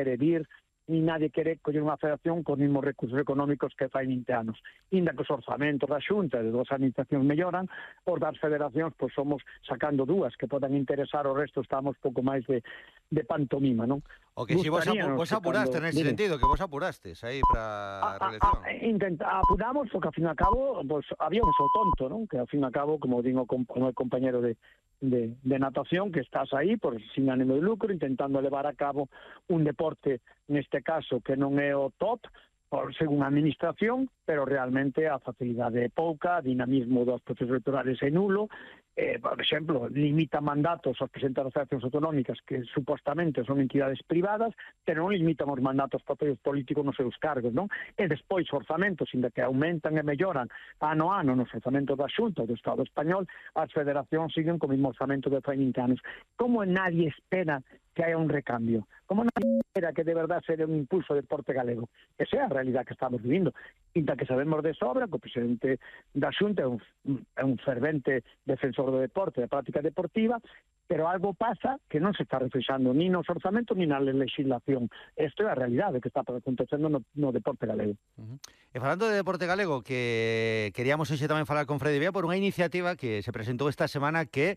quere vir, ni nadie quere coller unha federación con mesmos recursos económicos que fai 20 anos. Inda que os orzamentos da Xunta e das administracións melloran, os das federacións pois somos sacando dúas que podan interesar, o resto estamos pouco máis de pantomima, non? O que si vos apuraste nese sentido, que vos apurastes aí para a reelección. Apuramos, porque ao fin e ao cabo pues, había un só tonto, non? Que ao fin e ao cabo, como digo con o compañero de natación, que estás aí por sin ánimo de lucro, intentando levar a cabo un deporte, neste caso, que non é o top, por según a administración, pero realmente a facilidade é pouca, a dinamismo dos procesos electorales é nulo, por exemplo, limita mandatos aos presidentes das federacións autonómicas que supostamente son entidades privadas, pero non limitan os mandatos propios políticos nos seus cargos, non? E despois orzamentos, inda que aumentan e melloran ano a ano nos orzamentos da Xunta do Estado español, as federacións siguen co mesmo orzamento de fai 20 anos. Como nadie espera que haya un recambio? Como nadie espera que de verdad se dé un impulso ao deporte galego? Esa é a realidad que estamos vivindo. Inda que sabemos de sobra que o presidente da Xunta é un fervente defensor do deporte, da práctica deportiva, pero algo pasa que non se está reflexando ni nos orzamentos ni na legislación. Isto é a realidade que está acontecendo no deporte galego. E falando de deporte galego, que queríamos hoxe tamén falar con Freddy Bea por unha iniciativa que se presentou esta semana que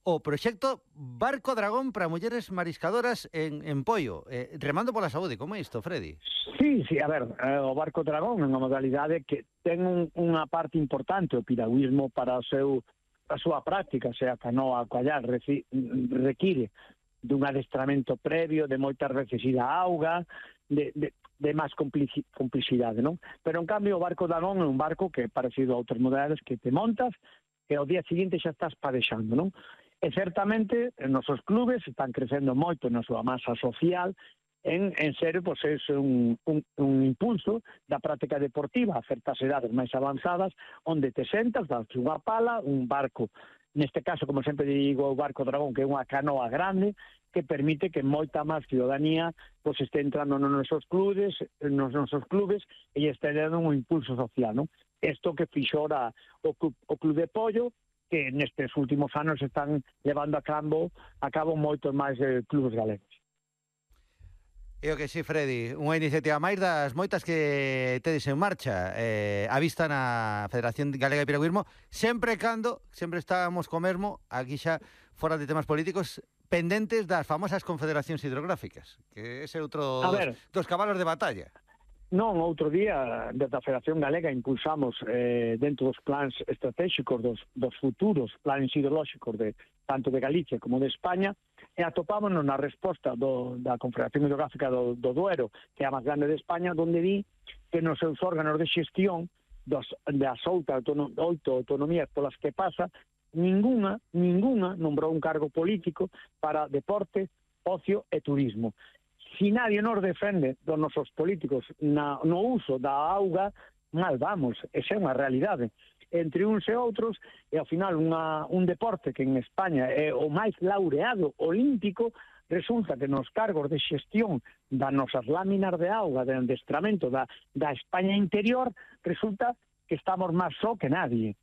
o proxecto Barco Dragón para mulleres mariscadoras en Poio, remando pola saúde. Como é isto, Freddy? Sí, a ver, o Barco Dragón é unha modalidade que ten unha parte importante, o piragüismo para a súa práctica, sea canoa, coallar, require dun adestramento previo, de moitas veces ir á auga, de máis complicidade, non? Pero, en cambio, o Barco Dragón é un barco que é parecido a outras modalidades que te montas e ao día seguinte xa estás padexando, non? E certamente, os nosos clubes están crecendo moito na súa masa social, en serio, pois é un impulso da práctica deportiva a certas edades máis avanzadas, onde te sentas, das unha pala, un barco, neste caso, como sempre digo, o Barco Dragón, que é unha canoa grande, que permite que moita máis ciudadanía pois este entrando nos nosos clubes e este dando un impulso social, non? Isto que fixora o Club de Pollo, que nestes últimos anos están levando a cabo moitos máis clubes galegos. E o que sí, Freddy, unha iniciativa máis das moitas que tedes en marcha a vista na Federación Galega de Piragüismo, sempre estamos co mesmo, aquí xa fora de temas políticos, pendentes das famosas confederacións hidrográficas, que ese é outro dos cabalos de batalla. Non, outro día, desde a Federación Galega impulsamos dentro dos plans estratégicos dos futuros planes hidrolóxicos tanto de Galicia como de España, e atopámonos na resposta da Confederación Hidrográfica do Duero, que é a máis grande de España, donde di que nos seus órganos de xestión das 8 autonomías polas que pasa, ninguna nombrou un cargo político para deporte, ocio e turismo. Si nadie nos defende dos nosos políticos no uso da auga, mal vamos, esa é unha realidade. Entre uns e outros, e ao final un deporte que en España é o máis laureado olímpico, resulta que nos cargos de xestión das nosas láminas de auga, de adestramento da España interior, resulta que estamos máis só que nadie.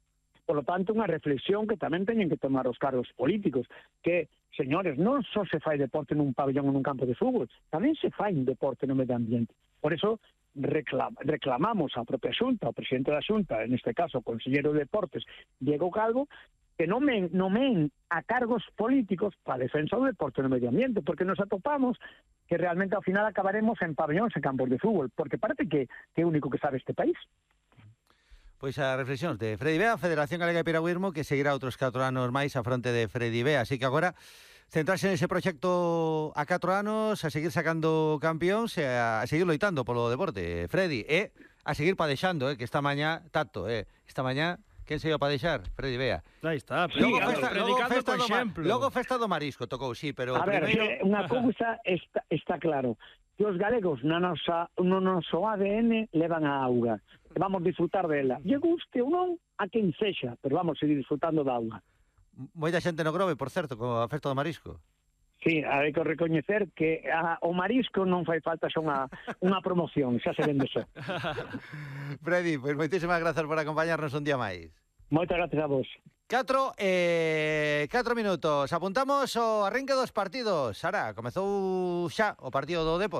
Por lo tanto, unha reflexión que tamén teñen que tomar os cargos políticos, que, señores, non só se fai deporte nun pabellón ou nun campo de fútbol, tamén se fai un deporte no medio ambiente. Por eso, reclamamos a propia Xunta, ao presidente da Xunta, en este caso, o conselleiro de Deportes, Diego Calvo, que nomen a cargos políticos para a defensa do deporte no medio ambiente, porque nos atopamos que realmente ao final acabaremos en pabellóns e campos de fútbol, porque parece que é o único que sabe este país. Pois a reflexións de Freddy Bea, Federación Galega de Piragüismo, que seguirá outros 4 anos máis a fronte de Freddy Bea, así que agora centrarse nese proxecto a 4 anos, a seguir sacando campións e a seguir loitando polo deporte, Freddy, e a seguir padexando, que esta mañá, esta mañá, quen se iba a padexar? Freddy Bea. Aí está, logo festa do marisco, tocou, sí, pero a ver, unha cousa está claro, que os galegos no noso ADN levan a auga, e vamos disfrutar dela, lle guste ou non a quen sexa, pero vamos seguir disfrutando da auga. Moita xente no Grove, por certo, con a festa do marisco. Sí, hai que recoñecer que o marisco non fai falta xa unha promoción, xa se vende só. Freddy, pois moitísimas grazas por acompañarnos un día máis. Moitas gracias a vos. 4 minutos. Apuntamos o arranque dos partidos. Sara, comezou xa o partido do Depor.